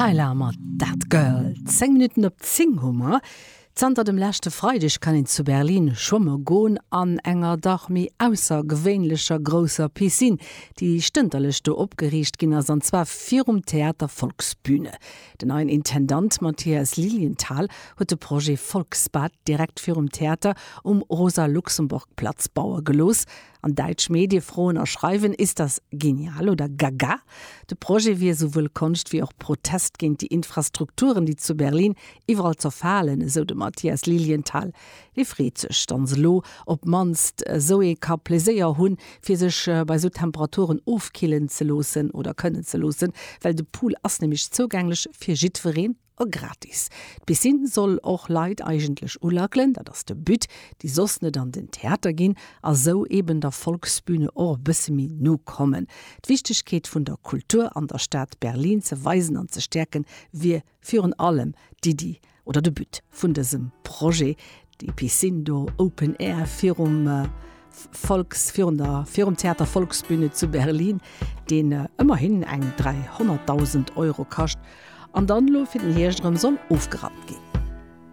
Tyla mat That Girl. 10 Minutten op 10 hu mer. Zanter dem leschte Freideg kann een zu Berlin schwamme goen an enger dach méi aussergewéinlecher grousser Piscine, déi stënterlech do opgeriicht ginn ass, an zwar virum Theater Volksbühne. Den neien Intendant Matthias Lilienthal huet de Projet Volksbad direkt virum Theater um Rosa-Luxemburg-Platz baue gelooss. An däitsch Medie froen a schreiwen, Ist das genial oder gaga? De Projet wier esouwuel Konscht wéi och Protest géint déi Infrastrukturen, déi zu Berlin iwwerall zerfalen, esou de Matthias Lilienthal. Hie freet sech, datt se elo op d'mannst esou ee ka Pleséier hunn, fir sech bei esou Temperaturen ofkillen ze loossen oder kënnen ze loossen, well de Pool ass nämlech zougänglech fir jiddwereen a gratis. D'Piscine soll och Leit eigentlech ulackelen, dat ass de But, déi soss net an den Theater ginn a sou eben der Volksbühne och e bësse méi no kommen. D'Wichtegkeet vun der Kultur an der Stad Berlin ze weisen an ze stäerken, wier virun allem d'Iddi oder de But vun dësem Projet, déi Piscine do open air virum Volks, virun der, virum Theater Volksbühne zu Berlin, deen ëmmerhin eng 300.000 Euro kascht an dann elo fir den Hierscht erëm soll ofgerappt ginn.